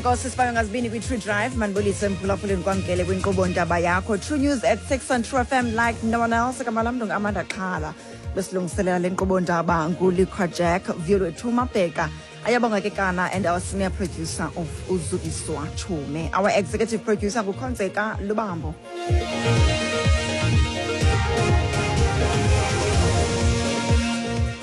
Enkosi sibayo ngazibini kwi-True Drive. Mandibulise mphulaphuleni, kwamkele kwinkqubo Ntaba Yakho. True News at 6 on True FM like no one else. Igama lam ndingu-Amanda Xhala. Besilungiselela le nkqubo ndaba nguLiqua Jack, Vuyolwethu Mabheka, Ayabonga Kekana and our senior producer of Uzukiswa Chume. Our executive producer nguKhonzeka Lubambo.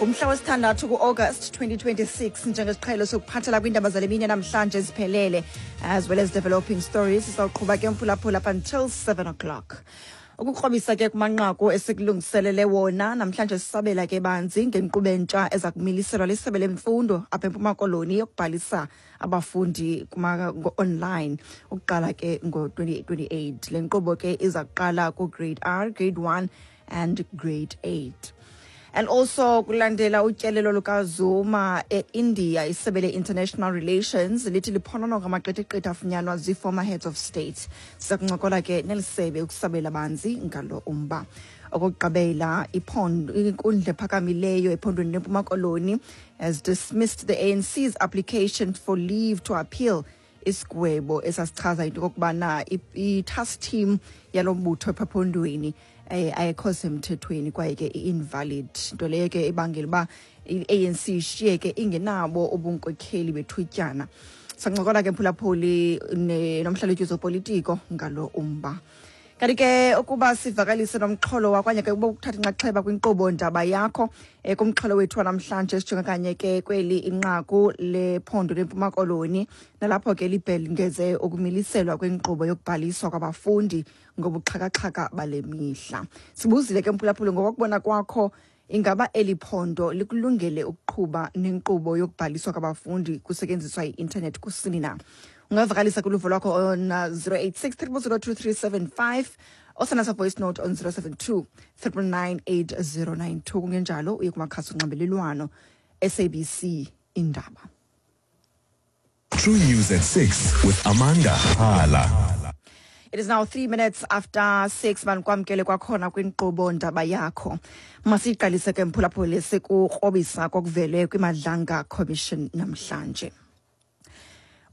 Ngumhla wesithandathu ku-August 2026. Njengesiqhelo sokuphathela kwiindaba zale mini namhlanje ziphelele, as well as developing stories. Sizawuqhuba ke mphulaphula up until 7 o'clock. Ukukrobisa ke kumanqaku esikulungiselele wona namhlanje, sisabela ke banzi ngenkqubo entsha eza kumiliselwa lisebe lemfundo apha eMpuma Koloni yokubhalisa abafundi online ukuqala ke ngo-2028. Le nkqubo ke iza kuqala ku-grade R, grade 1 and grade 8. And also, kulandela utyelelo lukaZuma e-India, isebe le-International Relations lithi liphonononga amaqithiqithi afunyanwa zii-former heads of state. Siza kuncokola ke neli sebe ukusabela banzi ngalo umba. Okokugqibela, iphondo, inkundla ephakamileyo ephondweni leMpuma Koloni has dismissed the ANC's application for leave to appeal isigwebo esasichaza into okokubana i-task team yalo mbutho ephondweni ayikho semthethweni kwaye ke i-invalid, nto leyo ke ibangela uba i-ANC ishiyeke ingenabo ubunkokheli bethutyana. Sancokola ke mphulaphuli nomhlalutyi zopolitiko ngalo umba. Kanti ke ukuba sivakalise nomxholo wakwanye ke ukuba ukuthatha inxaxheba kwinkqubo Ndaba Yakho, kumxholo wethu wanamhlanje sijonga kanye ke kweli inqaku lephondo leMpuma Koloni, nalapho ke libhengeze ukumiliselwa kwenkqubo yokubhaliswa kwabafundi ngobuxhakaxhaka bale mihla. Sibuzile ke mphulaphuli, ngokokubona kwakho, ingaba eli phondo likulungele ukuqhuba nenkqubo yokubhaliswa kwabafundi kusetyenziswa i-intanethi kusini na? Ungavakalisa kuluvo lwakho on 086 0002375, osana voice note on 072 999 8092. Kungenjalo uye kumakhasi onxibelelwano SABC Indaba. True News at 6 with Amanda Hala. It is now 3 minutes after 6. Manikwamkele kwakhona kwinkqubo Ndaba Yakho. Masiyiqalise ke mphulaphuli sikukrobisa kokuvele kwiMadlanga Commission namhlanje.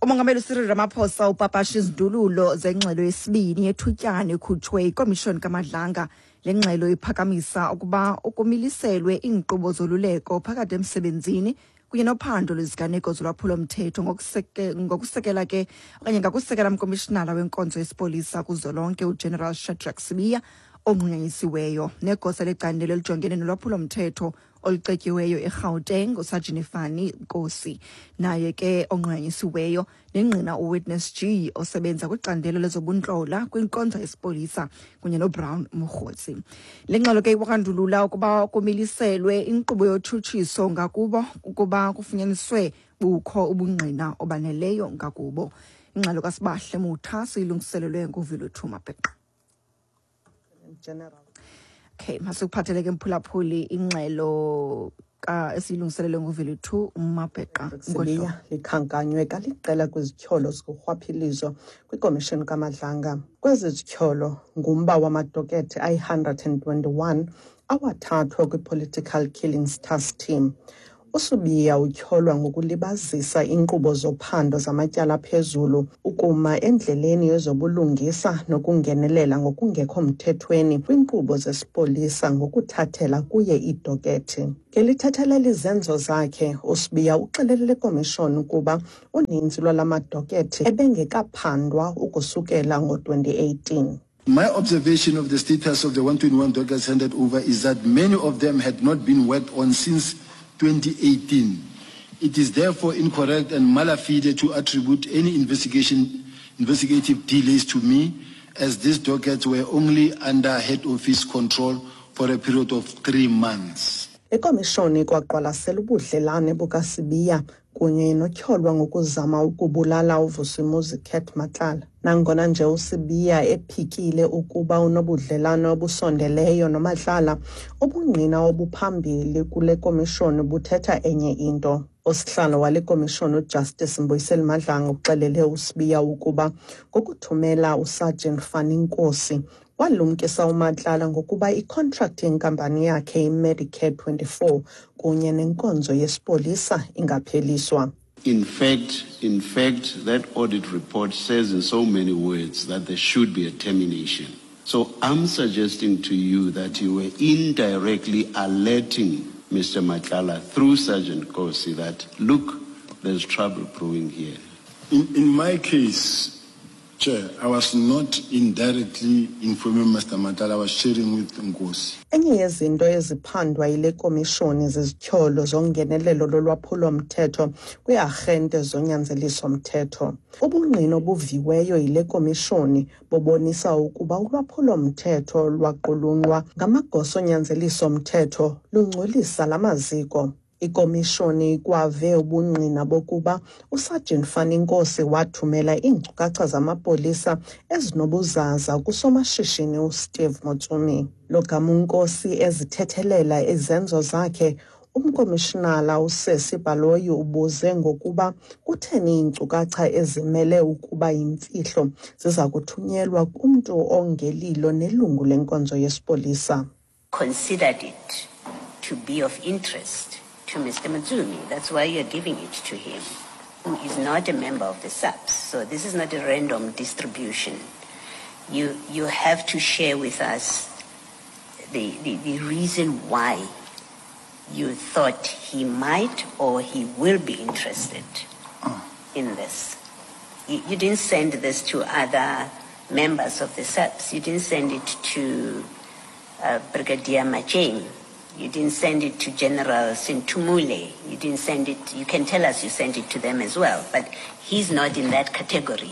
Umongameli Cyril Ramaphosa upapasha izindululo zengxelo yesibini yethutyana ekhutshwe yikomishoni kaMadlanga. Le ngxelo iphakamisa ukuba ukumiliselwe iinkqubo zoluleko phakathi emsebenzini kunye nophando lweziganeko zolwaphulo-mthetho ngokusekela ke okanye ngakusekela mkomishinala wenkonzo yesipolisa kuzwelonke uGeneral Shadrack Sibiya onqunyanyisiweyo, negosa lecandelo elijongene nolwaphulo-mthetho olucetyiweyo eGauteng uSajini Fani Nkosi, naye ke onqunyanyisiweyo, nengqina uWitness G osebenza kwicandelo lezobuntlola kwinkonzo yesipolisa kunye noBrown Mogotsi. Le ngxelo ke ikwandulula ukuba kumiliselwe inkqubo yotshutshiso ngakubo ukuba kufunyaniswe bukho ubungqina obaneleyo ngakubo. Ingxelo kaSibahle Mutha siyilungiselelwe nguViluthu Mabheqa. General. Okay, masikuphathele ke mphulaphuli ingxelo ka esiyilungiselelwe nguViluthu Mabheqa. Sibiya likhankanywe kaliqela kwizityholo zokurhwaphilizo kwikomishoni kaMadlanga. Kwezi zityholo ngumba wamadokethe ayi-121 awathathwa kwi-Political Killings Task Team. USibiya utyholwa ngokulibazisa iinkqubo zophando zamatyala aphezulu, ukuma endleleni yezobulungisa nokungenelela ngokungekho mthethweni kwiinkqubo zesipolisa ngokuthathela kuye iidokethi. Ngelithethelele izenzo zakhe, uSibiya uxelele le komishoni ukuba uninzi lwala madokethi ebengekaphandwa ukusukela ngo-2018. My observation of the status of the 121 dockets handed over is that many of them had not been worked on since 2018. It is therefore incorrect and mala fide to attribute any investigative delays to me, as these dockets were only under head office control for a period of 3 months. Ikomishoni ikwaqwalasela ubudlelane bukaSibiya kunye notyholwa ngokuzama ukubulala uVusimuzi Cat Matlala. Nangona nje uSibiya ephikile ukuba unobudlelane obusondeleyo noMatlala, ubungqina obuphambili kule komishoni buthetha enye into. Usihlalo wale komishoni uJustice Mbuyiseli Madlanga uxelele uSibiya ukuba ngokuthumela uSergeant Fani Nkosi walumkisa uMatlala ngokuba ikhontrakthi yenkampani yakhe iMedicare 24 kunye nenkonzo yesipolisa ingapheliswa. In fact, that audit report says in so many words that there should be a termination. So I'm suggesting to you that you were indirectly alerting Mr. Matlala through Sergeant Nkosi that, look, there's trouble brewing here. In my case, Chair, I was not indirectly informing Mr. Matlala. I was sharing with Nkosi. Enye yezinto eziphandwa yile komishoni zizityholo zongenelelo lolwaphulo-mthetho kwiiarhente zonyanzeliso-mthetho. Ubungqina obuviweyo yile komishoni bubonisa ukuba ulwaphulo-mthetho lwaqulunqwa ngamagosa onyanzeliso-mthetho lungcolisa la maziko. Ikomishoni ikwave ubungqina bokuba uSajini Fannie Nkosi wathumela iinkcukacha zamapolisa ezinobuzaza kusomashishini uSteve Motsumi. Lo gama uNkosi ezithethelela izenzo zakhe, umkomishinala uSesi Baloyi ubuze ngokuba kutheni iinkcukacha ezimele ukuba yimfihlo ziza kuthunyelwa kumntu ongelilo nelungu lenkonzo yesipolisa. Considered it to be of interest to Mr. Motsumi. That's why you're giving it to him, who is not a member of the SAPS. So this is not a random distribution. You have to share with us the reason why you thought he might or he will be interested in this. You didn't send this to other members of the SAPS. You didn't send it to Brigadier Macheng. You didn't send it to General Sintumule. You didn't send it, you can tell us you sent it to them as well, but he's not in that category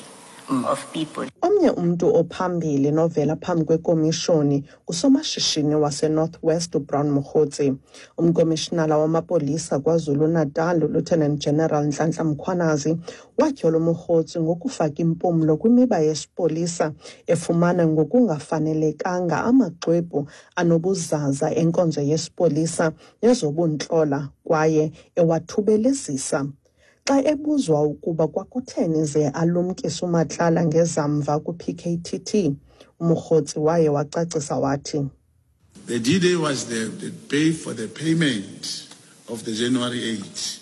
of people. Omnye umntu ophambili novela phambi kwekomishoni ngusomashishini waseNorth West uBrown Mogotsi. Umkomishinala wamapolisa KwaZulu-Natal uLieutenant General Nhlanhla Mkhwanazi watyhola uMogotsi ngokufaka impumlo kwimiba yesipolisa, efumana ngokungafanelekanga amaxwebhu anobuzaza enkonzo yesipolisa nezobuntlola kwaye ewathubelezisa. Xa ebuzwa ukuba kwakutheni ze alumkise uMatlala ngezamva kwi-PKTT, uMogotsi waye wacacisa wathi, The D-Day was the day for the payment of the January 8.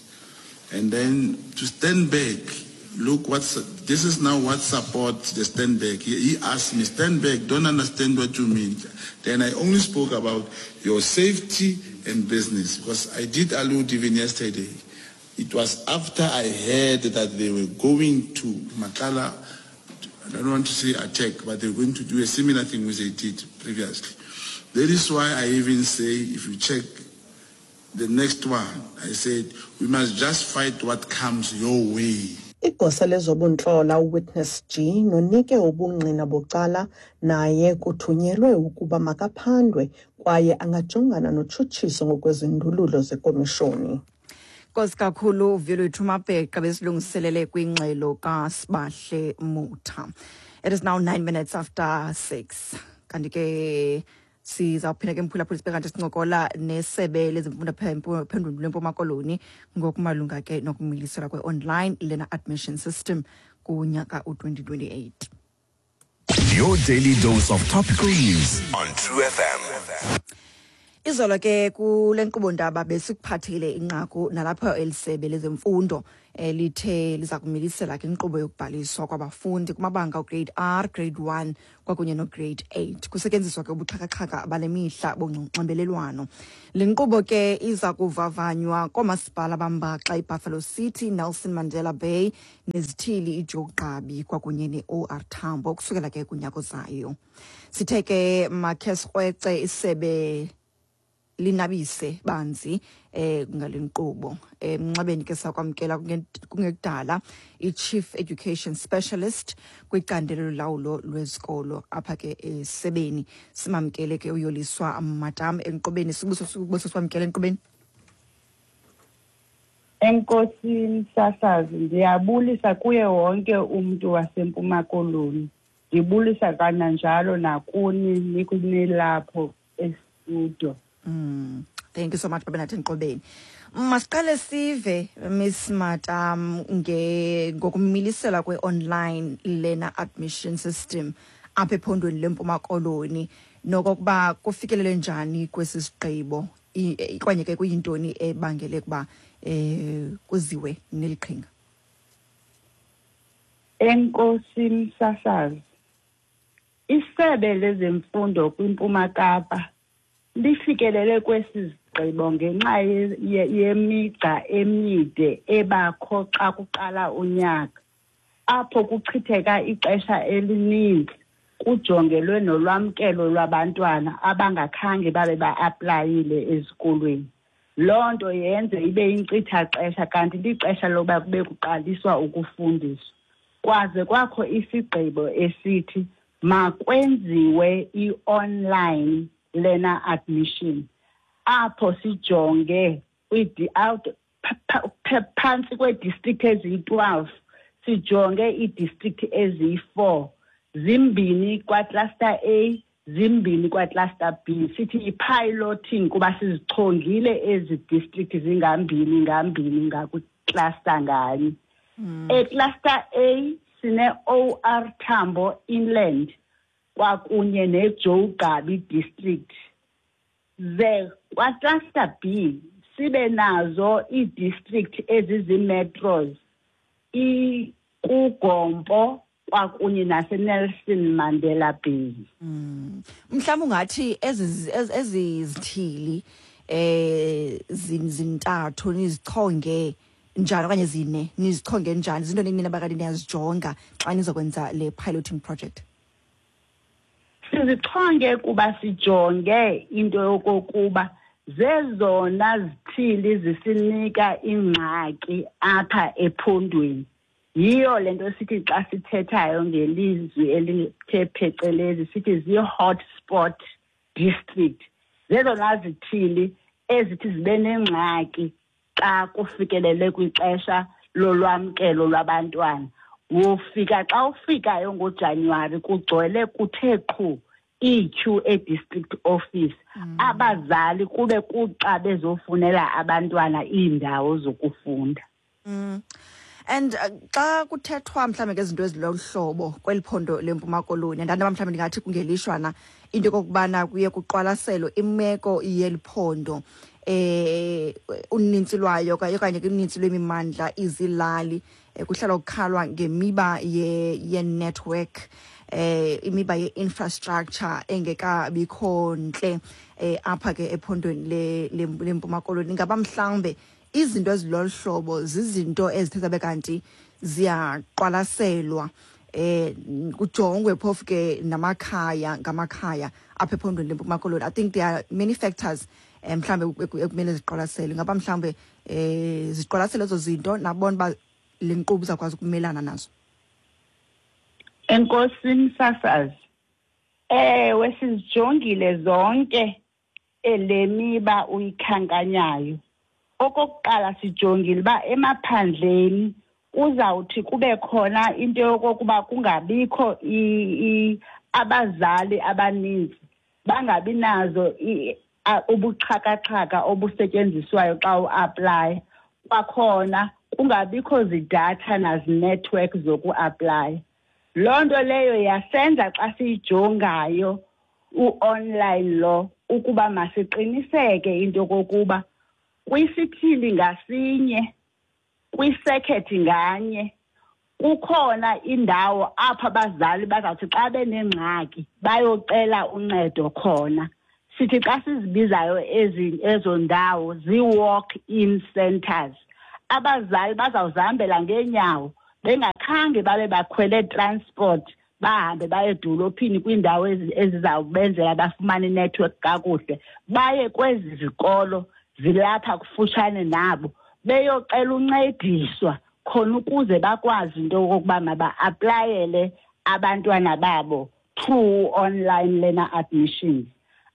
And then to stand back, look what's, this is now what supports the stand back. He asked me, "Stand back, don't understand what you mean." Then I only spoke about your safety and business because I did allude even yesterday. It was after I heard that they were going to Matlala, I don't want to say attack, but they were going to do a similar thing which they did previously. That is why I even say, if you check the next one, I said, we must just fight what comes your way. Igosa lezobuntlola uWitness G nonike ubungqina bucala naye kuthunyelwe ukuba makaphandwe kwaye angajongana notshutshiso ngokwezindululo zekomishoni. Nkosi kakhulu, Vuyolwethu Mabheqa besilungiselele kwingxelo kaSibahle Mutha. It is now 9 minutes after 6. Kanti ke sizawuphinda ke, mphulaphula, sibe kanti sincokola nesebe lezemfundo phondweni lweMpuma Koloni ngokumalunga ke nokumiliselwa kwe-online learner admission system kunyaka u-2028. Your daily dose of topical news on True FM. Izolo ke kule nkqubo ndaba besikuphathile inqaku nalapho elisebe lezemfundo lithe liza kumilisela ke inkqubo yokubhaliswa kwabafundi kumabanga ugrade R, grade 1 kwakunye nograde 8 kusetyenziswa ke ubuxhakaxhaka bale mihla bonxibelelwano. Le nkqubo ke iza kuvavanywa koomasipala bambaxa iBuffalo City, Nelson Mandela Bay nezithili iJoe Gqabi kwakunye ne-OR Tambo ukusukela ke kunyaka ozayo. Sithe ke makhe sikrwece isebe linabise banzi ngale nkqubo. Emnxebeni ke sakwamkela kungekudala i-Chief Education Specialist kwicandelo lolawulo lwezikolo apha ke esebeni. Simamkele ke uYoliswa Matam enkqubeni. Sibuso, siwamkele enkqubeni. Enkosi msasazi, ndiyabulisa kuye wonke umntu waseMpuma Koloni. Ndibulisa kananjalo nakuni nikunilapho estudio. Thank you so much, babe nathi enkqubeni. Masiqale sive, Miss Matam, nge ngokumilisela kwe-online learner admission system apha ephondweni leMpuma Koloni nokokuba kufikelele njani kwesi sigqibo okanye ke kuyintoni ebangele ukuba kuziwe neli qhinga. Enkosi msasazi. Isebe lezemfundo kwiMpuma Kapa lifikelele kwesi sigqibo ngenxa yemigca emide ebakho xa kuqala unyaka, apho kuchitheka ixesha elininzi kujongelwe nolwamkelo lwabantwana abangakhange babe ba-aplayile ezikolweni. Loo nto yenze ibe yinkcitha-xesha kanti lixesha loba kube kuqaliswa ukufundiswa. Kwaze kwakho isigqibo esithi makwenziwe i-online learner admission, apho sijonge phantsi kwee-district eziyi-12, sijonge ii-district eziyi-4, 2 kwa-cluster A, 2 kwa-cluster B. Sithi yi-piloting kuba sizichongile ezi district zingambini ngambini ngakwi-cluster nganye. E-cluster A sine-OR Tambo Inland kwakunye ne-Joe Gqabi District. Ze kwa-cluster B sibe nazo ii-district ezizi-metros, iKuGompo kwakunye naseNelson Mandela Bay. Mhlawumbe ungathi ezi zithili zintathu nizichonge njani okanye zine nizichonge njani, zinto nini abakade niyazijonga xa nizokwenza le piloting project? Sizichonge kuba sijonge into yokokuba zezona zithili zisinika ingxaki apha ephondweni. Yiyo le nto sithi xa sithethayo ngelizwi elithe phecelezi sithi zii-hotspot district. Zezona zithili ezithi zibe nengxaki xa kufikelele kwixesha lolwamkelo lwabantwana. Wofika xa ufikayo ngoJanuwari kugcwele kuthe qhu iityhu e-district office. Abazali kube kuxa bezofunela abantwana iindawo zokufunda. And xa kuthethwa mhlawumbe ngezinto ezilolu hlobo kweli phondo leMpuma Koloni, andanoba mhlawumbe ndingathi kungelishwana into yokokubana kuye kuqwalaselwe imeko yeli phondo, unintsi lwayo okanye unintsi lwemimandla izilali, kuhlala kukhalwa ngemiba ye-network, imiba ye-infrastructure engekabikho ntle, apha ke ephondweni leMpuma Koloni. Ingaba mhlawumbe izinto ezilolu hlobo zizinto ezithe zabe kanti ziyaqwalaselwa, kujongwe phofu ke namakhaya ngamakhaya apha ephondweni leMpuma Koloni? I think there are many factors mhlawumbe ekumele ziqwalaselwe. Ingaba mhlawumbe ziqwalasele ezo zinto nabona uba le nkqubo izawukwazi ukumelana nazo? Enkosi msasazi. Ewe, sizijongile zonke le miba uyikhankanyayo. Okokuqala sijongile uba emaphandleni kuzawuthi kube khona into yokokuba kungabikho abazali abaninzi, bangabi nazo ubuxhakaxhaka obusetyenziswayo xa uaplaya. Kwakhona kungabikho zidatha nazinetwork zokuaplaya. Loo nto leyo yasenza xa siyijongayo u-online lo ukuba masiqiniseke into yokokuba kwisithili ngasinye, kwisekhethi nganye, kukhona indawo apho abazali bazawuthi xa benengxaki bayocela uncedo khona. Sithi xa sizibizayo ezo ndawo zii-walk-in centers. Abazali bazawuzihambela ngeenyawo bengakhange babe bakhwele transport, bahambe baye edolophini kwiindawo ezizawubenzela bafumane inetwork kakuhle, baye kwezi zikolo zilapha kufutshane nabo beyocela uncediswa khona ukuze bakwazi into yokokuba maba-aplayele abantwana babo through online learner admissions.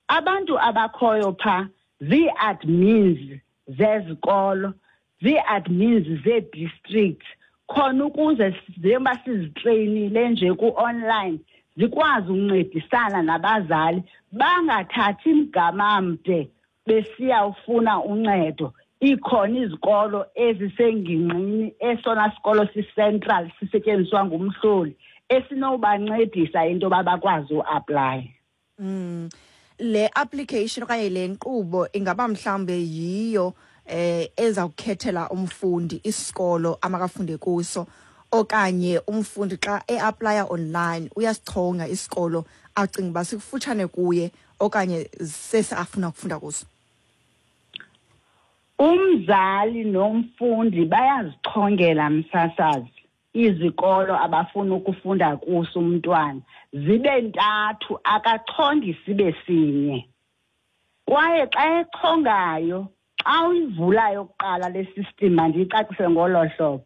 Abantu abakhoyo phaa zii-admins zezikolo, zii-admins zee-districts, khona ukuze njengoba sizitreyinile nje ku-online zikwazi ukuncedisana nabazali bangathathi mgama mde besiya ufuna uncedo. Ikhona izikolo ezisengingqini, esona sikolo si-central sisetyenziswa ngumhloli esinobancedisa into yoba bakwazi uaplaya. Le application okanye le nkqubo ingaba mhlawumbe yiyo ezawukhethela umfundi isikolo amakafunde kuso, Okanye umfundi xa e-applya online uyasichonga isikolo acinga uba sikufutshane kuye okanye sesi afuna ukufunda kuso? Umzali nomfundi bayazichongela, msasazi, izikolo abafuna ukufunda kuso umntwana. Zibe ntathu, akachongi sibe sinye. Kwaye xa echongayo, xa uyivulayo kuqala le system, mandiyicacise ngolo hlobo,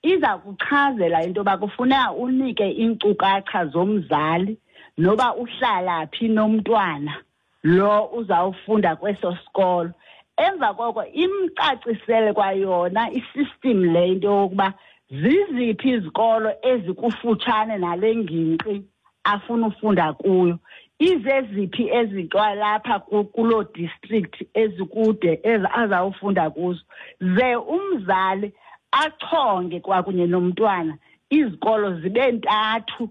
iza kuchazela into yoba kufuneka unike iinkcukacha zomzali noba uhlala phi nomntwana lo uzawufunda kweso sikolo. Emva koko imcacisele kwayona isystem le into yokuba ziziphi izikolo ezikufutshane nale ngingqi afuna ufunda kuyo, izeziphi ezikwalapha kuloo district ezikude azawufunda kuzo, ze umzali achonge kwakunye nomntwana izikolo zibe ntathu.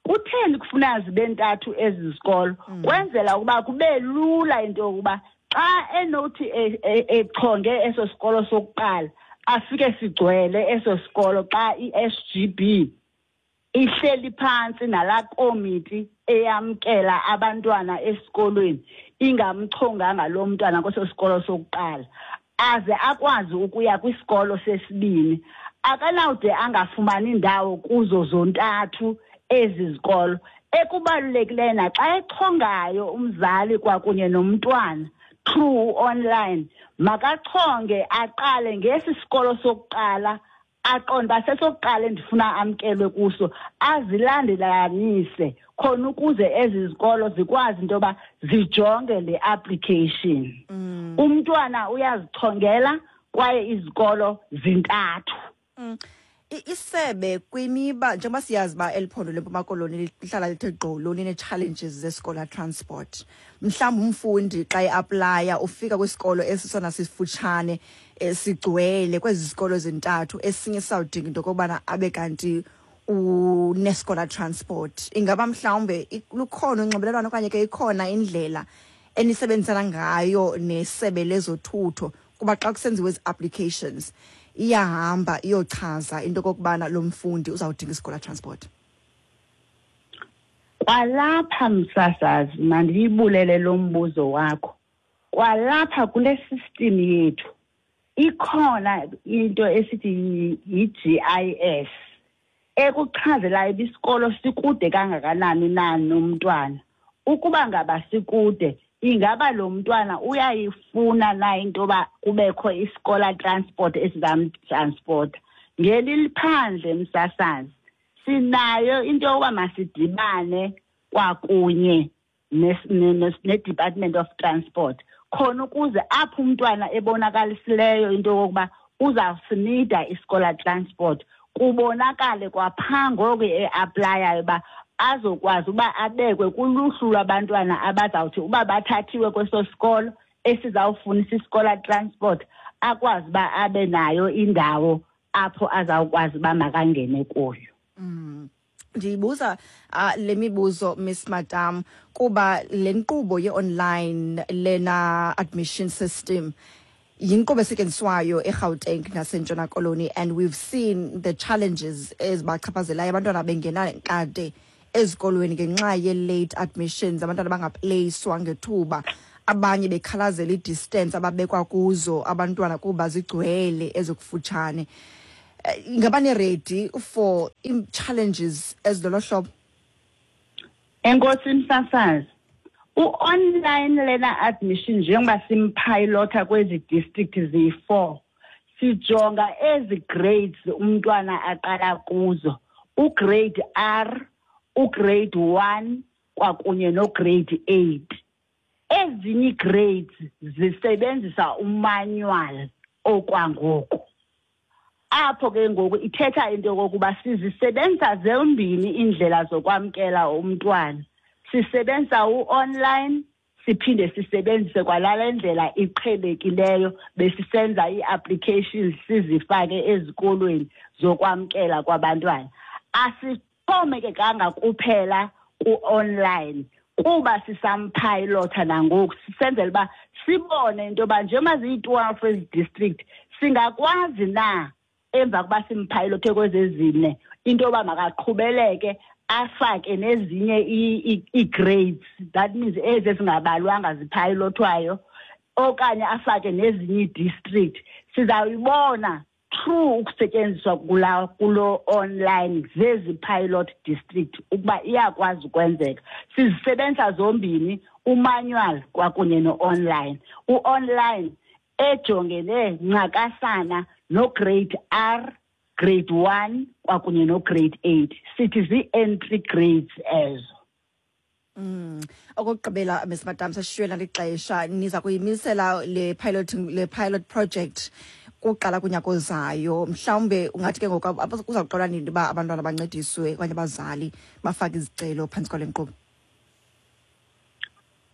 Kutheni kufuneka zibe ntathu ezi zikolo? Kwenzela ukuba kube lula into yokuba xa enothi echonge eso sikolo sokuqala, afike sigcwele eso sikolo xa i-SGB ihleli phantsi nalaa komiti eyamkela abantwana esikolweni ingamchonganga lo mntwana kweso sikolo sokuqala, aze akwazi ukuya kwisikolo sesibini. Akanawude angafumani ndawo kuzo zontathu ezi zikolo. Ekubalulekileyo naxa echongayo umzali kwakunye nomntwana through online, makachonge aqale ngesi sikolo sokuqala, aqonde uba sesokuqala endifuna amkelwe kuso, azilandelanise khona ukuze ezi zikolo zikwazi into yoba zijonge le application. Umntwana uyazichongela kwaye izikolo zintathu. Isebe kwimiba, njengoba siyazi uba eli phondo leMpuma Koloni lihlala lithe gqolo line-challenges ze-scholar transport, mhlawumbi umfundi xa e-applya ufika kwisikolo esisona sifutshane, sigcwele kwezi zikolo zintathu, esinye sizawudinga into okokubana abe kanti une-scholar transport. Ingaba mhlawumbe lukhona unxibelelwano okanye ke ikhona indlela enisebenzisana ngayo nesebe lezothutho, kuba xa kusenziwa ezi applications iyahamba iyochaza into okokubana lo mfundi uzawudinga i-scholar transport? Kwalapha, msasazi, mandiyibulele lo mbuzo wakho. Kwalapha kule system yethu ikhona into esithi yi-GIS ekuchazelayo uba isikolo sikude kangakanani na nomntwana. Ukuba ngaba sikude, ingaba lo mntwana uyayifuna na into yoba kubekho i-scholar transport esizamtransporta? Ngeli liphandle, msasazi, sinayo into yokuba masidibane kwakunye ne-Department of Transport khona ukuze apho umntwana ebonakalisileyo into yokokuba uzawusinida i-scholar transport, kubonakale kwaphaa ngoku e-applyayo uba azokwazi uba abekwe kuluhlu lwabantwana abazawuthi uba bathathiwe kweso sikolo esizawufunisa i-scholar transport, akwazi uba abe nayo indawo apho azawukwazi uba makangene kuyo. Ndiyibuza le mibuzo, Miss Madam, kuba le nkqubo ye-online lena admission system yinkqubo esetyenziswayo eGauteng naseNtshona Koloni, and we've seen the challenges ezibachaphazelayo abantwana bengena kade ezikolweni ngenxa ye-late admissions, abantwana bangapleyiswa ngethuba, abanye bekhalazela i-distance ababekwa kuzo abantwana kuba zigcwele ezikufutshane. Ingaba ni-ready for ii-challenges ezilolo hlobo? Enkosi, msasazi. U-online lena admission, njengoba simpilota kwezi district ziyi-4, sijonga ezi grades umntwana aqala kuzo, ugrade R, ugrade 1 kwakunye nograde 8. Ezinye ii-grades zisebenzisa umanual okwangoku. Apho ke ngoku ithetha into yokokuba sizisebenzisa zombini iindlela zokwamkela umntwana. Sisebenzisa u-online, siphinde sisebenzise kwalale ndlela iqhelekileyo besisenza ii-applications sizifake ezikolweni zokwamkela kwabantwana. Asixhomekekanga kuphela ku-online kuba sisamphayilotha nangoku, sisenzela uba sibone into yoba njengoba ziyi-12 ezi district singakwazi na. Emva kuba simphayilothe kwezezine, into yoba makaqhubeleke afake nezinye ii-grades, that means ezi ezingabalwanga ziphayilothwayo, okanye afake nezinye ii-district, sizawuyibona through ukusetyenziswa kula kulo online zezi pilot district ukuba iyakwazi ukwenzeka. Sizisebenzisa zombini, umanual kwakunye no-online. U-online ejongene ncakasana no-grade R, grade 1 kwakunye no-grade 8, sithi zii-entry grades ezo. Okokugqibela, Ms Madam, sashiywe lixesha, niza kuyimisela le pilot project kuqala kunyaka ozayo. Mhlawumbe ungathi ke ngoku kuza kuqala nini uba abantwana bancediswe okanye abazali bafake izicelo phantsi kwale nkqubo?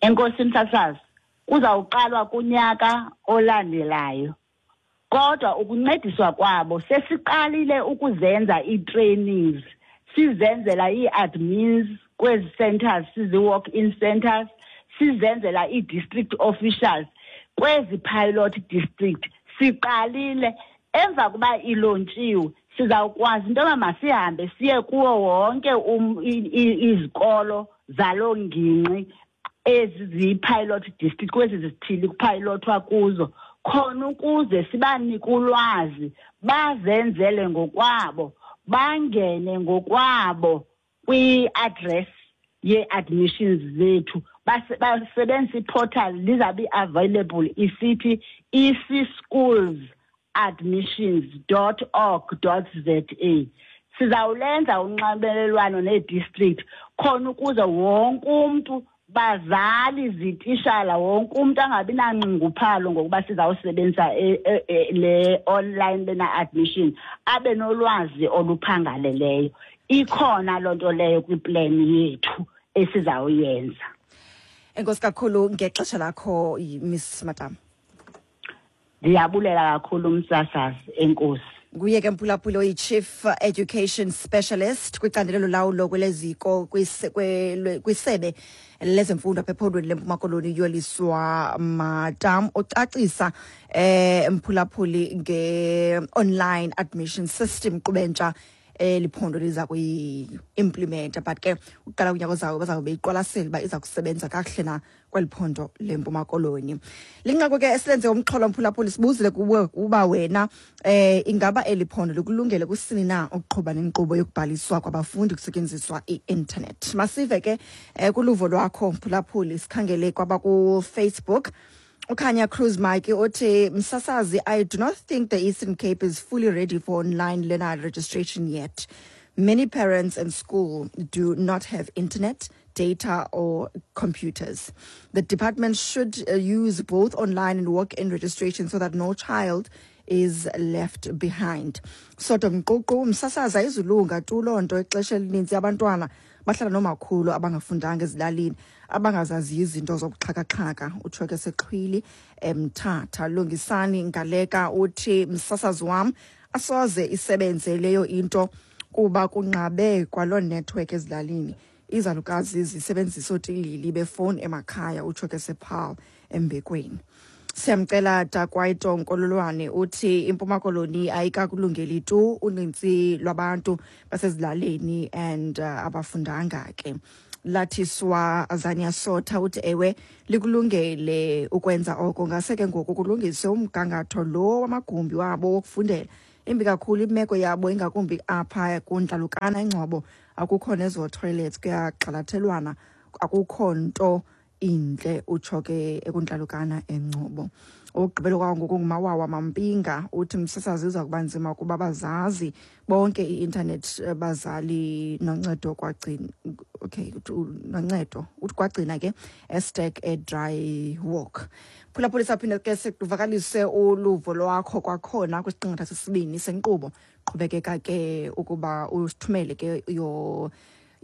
Enkosi, msasazi. Kuzawuqalwa kunyaka olandelayo, kodwa ukuncediswa kwabo sesiqalile ukuzenza ii-trainings, sizenzela ii-admins kwezi centers, sizi-walk-in centers, sizenzela ii-district officials kwezi pilot district. Siqalile. Emva kuba ilontshiwe, sizawukwazi into yoba masihambe siye kuwo wonke izikolo zaloo ngingqi ezi ziyi-pilot district, kwezi zithili kuphayilothwa kuzo, khona ukuze sibanike ulwazi, bazenzele ngokwabo, bangene ngokwabo kwi-address ye-admissions zethu, basebenzise i-portal lizabe i-available, isithi ecschools admissions.org.za. Sizawulenza unxibelelwano nee-district khona ukuze wonke umntu, bazali, zitishala, wonke umntu angabi nanxunguphalo ngokuba sizawusebenzisa le online learner admission, abe nolwazi oluphangaleleyo. Ikhona loo nto leyo kwiplan yethu esizawuyenza. Enkosi kakhulu ngexesha lakho, Miss Madam. Ndiyabulela kakhulu, umsasazi, enkosi. Nguye ke, mphulaphuli, oyi-Chief Education Specialist kwicandelo lolawulo kweleziko kwisebe lezemfundo apha ephondweni leMpuma Koloni, Yoliswa Madam, ucacisa mphulaphuli nge-online admission system qubentsha eliphondo liza kuyi-implementa, but ke uqala kunyaka ozayo bazawube beyiqwalasela uba iza kusebenza kakuhle na kweli phondo leMpuma Koloni. Linqaku ke esilenze umxholo, mphulaphuli, sibuzile kuwe uba wena ingaba eli phondo likulungele kusini na ukuqhuba nenkqubo yokubhaliswa kwabafundi kusetyenziswa i-internet. Masive ke kuluvo lwakho, mphulaphuli. Sikhangele kwabaku-Facebook. Ukhanya Cruz Mike uthi, "Msasazi, I do not think the Eastern Cape is fully ready for online learner registration yet. Many parents and school do not have internet, data or computers. The department should use both online and walk-in registration so that no child is left behind." Sodom Mququ, "Msasazi, ayizulunga tu loo nto. Ixesha elininzi abantwana bahlala nomakhulu abangafundanga ezilalini, abangazaziyo izinto zobuxhakaxhaka," utsho ke sexhwili eMthatha. Lungisani Ngaleka uthi, "Msasazi wam, asoze isebenze leyo into kuba kunqabe kwaloo network ezilalini. Izalukazi zisebenzisa ootilili befowuni emakhaya," utsho ke sePaarl Embekweni. Siyamcela Takwaito Nkololwane uthi iMpuma Koloni ayikakulungeli tu, unintsi lwabantu basezilalini and abafundanga ke. Lathiswa Azania Sotha uthi, "Ewe, likulungele ukwenza oko, ngase ke ngoku kulungiswe umgangatho lo wamagumbi wabo wokufundela. Imbi kakhulu imeko yabo, ingakumbi apha kuNtlalukana eNgcobo, akukho nezo toilets, kuyagxalathelwana, akukho nto intle," utsho ke ekuNtlalukana eNgcobo. Okugqibela kwangoku nguMawawa Mampinga uthi, "Msasazi, iza kuba nzima kuba bazazi bonke i-intanethi bazali noncedo kwagcina." Okay, noncedo uthi kwagcina ke estek edry walk. Phulaphula, saphinde ke sikuvakalise uluvo lwakho kwakhona kwisiqingatha sesibini senkqubo. Qhubekeka ke ukuba usithumele ke your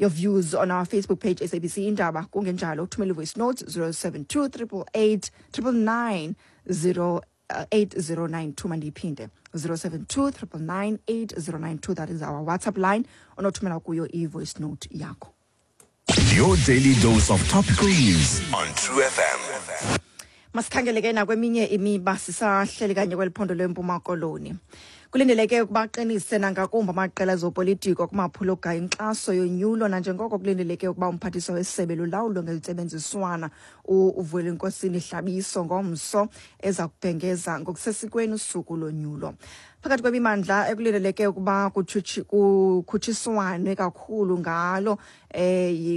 views on our Facebook page, SABC Indaba. Kungenjalo uthumele voice note 072 888 999 0 8092. Mandiyiphinde, 072 999 8092. That is our WhatsApp line onothumela kuyo i-voice note yakho. Your daily dose of topical news on True FM. Masikhangele ke nakweminye imiba, sisahleli kanye kweli phondo leMpuma Koloni. Kulindeleke ukuba aqinise nangakumbi amaqela ezopolitiko kumaphulo ogaya inkxaso yonyulo, nanjengoko kulindeleke ukuba umphathiswa wesebe lolawulo ngentsebenziswana uVelenkosini Hlabiso ngomso eza kubhengeza ngokusesikweni usuku lonyulo. Phakathi kwemimandla ekulindeleke ukuba kukhutshiswane kakhulu ngalo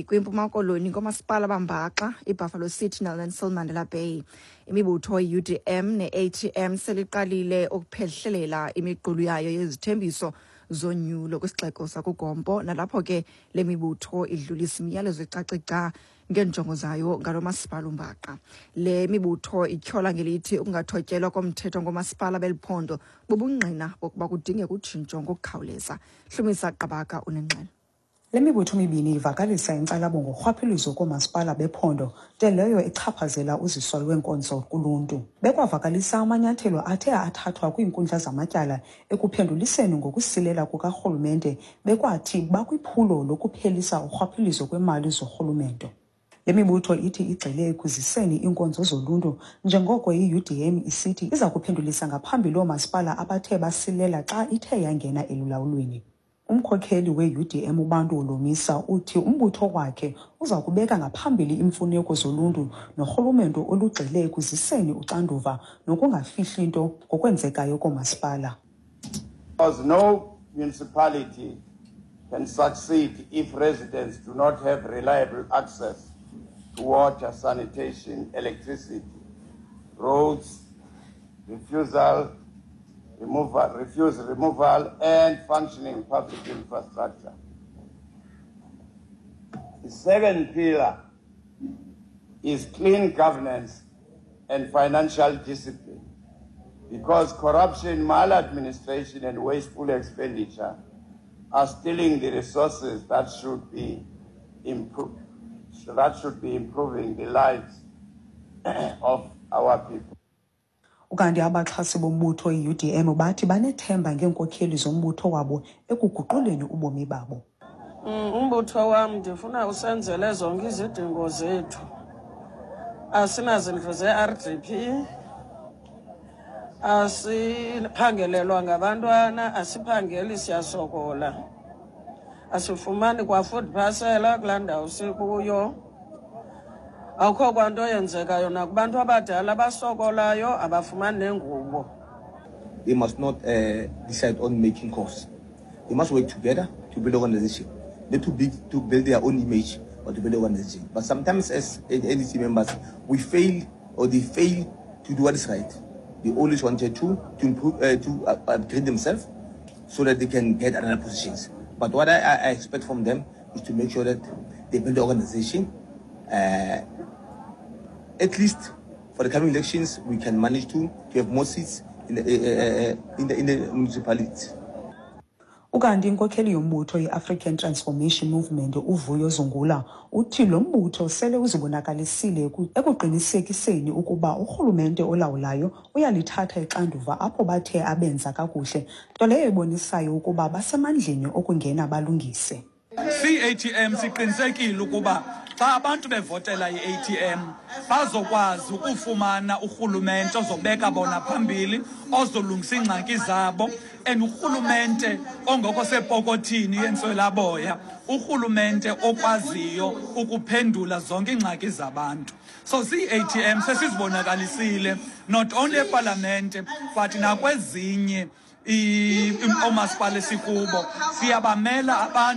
kwiMpuma Koloni ngoomasipala bambaxa iBuffalo City neNelson Mandela Bay. Imibutho i-UDM ne-ATM seliqalile ukuphehlelela imiqulu yayo yezithembiso zonyulo kwisixeko sakuGompo, nalapho ke le mibutho idlulisa imiyalezo ecace gca ngeenjongo zayo ngalo masipala umbaxa. Le mibutho ityhola ngelithi ukungathotyelwa komthetho ngoomasipala beli phondo bubungqina bokuba kudingeka utshintsho ngokukhawuleza. Hlumisa Qabaka unengxelo. Le mibutho mibini ivakalisa inkxalabo ngorhwaphilizo koomasipala bephondo, nto leyo echaphazela uziso lweenkonzo kuluntu. Bekwavakalisa amanyathelo athe athathwa kwiinkundla zamatyala ekuphenduliseni ngokusilela kukarhulumente, bekwathi bakwiphulo lokuphelisa urhwaphilizo kwemali zorhulumento. Le mibutho ithi igxile ekuziseni iinkonzo zoluntu, njengoko i-UDM isithi iza kuphendulisa ngaphambili oomasipala abathe basilela xa ithe yangena elulawulweni. Umkhokheli we-UDM uBantu Holomisa uthi umbutho wakhe uza kubeka ngaphambili iimfuneko zoluntu norhulumento olugxile ekuziseni uxanduva nokungafihli nto ngokwenzekayo koomasipala. Because no municipality can succeed if residents do not have reliable access to water, sanitation, electricity, roads, refuse removal, and functioning public infrastructure. The second pillar is clean governance and financial discipline, because corruption, maladministration, and wasteful expenditure are stealing the resources that should be that should be improving the lives of our people. Ukanti abaxhasi bombutho i-UDM bathi banethemba ngeenkokheli zombutho wabo ekuguquleni ubomi babo. Umbutho wam ndifuna usenzele zonke izidingo zethu. Asinazindlu ze-RDP, asiphangelelwa ngabantwana, asiphangeli, siyasokola. Asifumani kwa food parcel kulaa ndawo sikuyo. Akukho kwanto yenzekayo nakubantu abadala abasokolayo, abafumani nengubo. They must not decide on making calls. They must work together to build organization, not to build their own image, but to build organization. But sometimes as NEC members, we fail, or they fail to do what is right. They always wanted to improve, to upgrade themselves so that they can get another positions. But what I expect from them is to make sure that they build the organization. At least for the coming elections, we can manage to have more seats in the municipality. Ukanti inkokheli yombutho i-African Transformation Movement uVuyo Zungula uthi lo mbutho sele uzibonakalisile ekuqinisekiseni ukuba urhulumente olawulayo uyalithatha ixanduva apho bathe abenza kakuhle, nto leyo ibonisayo ukuba basemandleni okungena balungise. Si-ATM siqinisekile ukuba xa abantu bevotela i-ATM bazokwazi ukufumana urhulumente ozobeka bona phambili, ozolungisa iingxaki zabo, and urhulumente ongekho sepokothini yentswelaboya, urhulumente okwaziyo ukuphendula zonke iingxaki zabantu. So siyi-ATM sesizibonakalisile not only epalamente but nakwezinye oomasipala esikubo, siyabamela abantu.